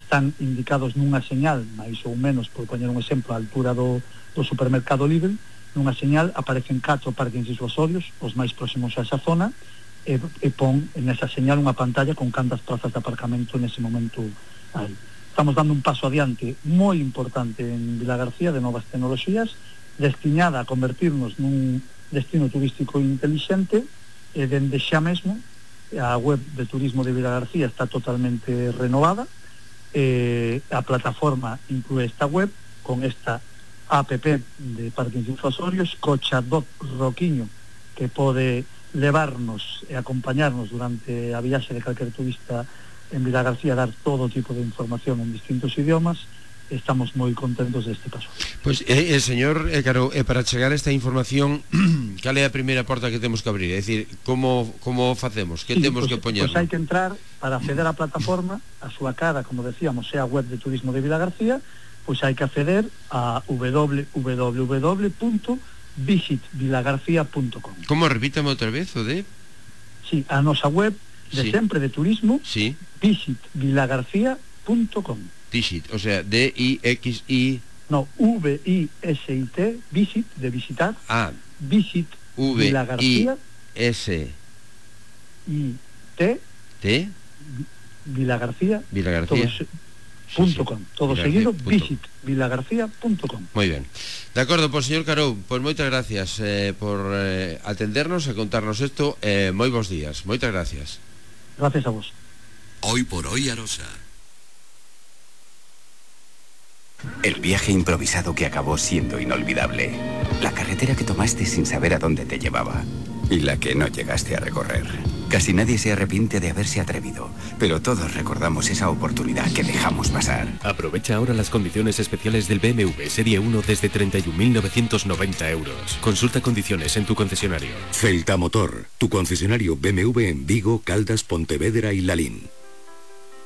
están indicados nunha señal, máis ou menos, por poñer un exemplo, a altura do supermercado Lidl, nunha señal aparecen 4 parkings disuasorios, os máis próximos a esa zona, e pon nesa señal unha pantalla con cantas plazas de aparcamento nese momento hai. Estamos dando un paso adiante moi importante en Vilagarcía de novas tecnoloxías, destinada a convertirnos nun destino turístico inteligente, e dende xa mesmo a web de turismo de Vilagarcía está totalmente renovada. A plataforma inclúe esta web con esta app de parkings disuasorios, co chatbot Roquiño, que pode levarnos e acompañarnos durante a viaxe de calquer turista en Vilagarcía, dar todo tipo de información en distintos idiomas. Estamos moi contentos deste paso. Pois, señor Caro, para chegar a esta información, cal é a primeira porta que temos que abrir? É dicir, como facemos? Que temos que poñer? Pois hai que entrar, para acceder á plataforma, a súa cara, como decíamos, é a web de turismo de Vilagarcía, pois hai que acceder a www.visitvilagarcía.com. Como? Repítame outra vez, o de? Sí, a nosa web de sempre de turismo, visitvilagarcía.com. Visit, o sea, D-I-X-I... No, V-I-S-I-T, visit, de visitar. Ah, Visit Vilagarcía. V-I-S-I-T. T. Vilagarcía. .com. Todo seguido, visitvilagarcía.com. Moi ben. De acordo, pois, señor Carou, pois moitas gracias por atendernos e contarnos isto. Moi bons días. Moitas gracias. Gracias a vos. Hoy por hoy, Arosa. El viaje improvisado que acabó siendo inolvidable. La carretera que tomaste sin saber a dónde te llevaba. Y la que no llegaste a recorrer. Casi nadie se arrepiente de haberse atrevido, pero todos recordamos esa oportunidad que dejamos pasar. Aprovecha ahora las condiciones especiales del BMW Serie 1 desde 31.990 euros. Consulta condiciones en tu concesionario. Celta Motor, tu concesionario BMW en Vigo, Caldas, Pontevedra y Lalín.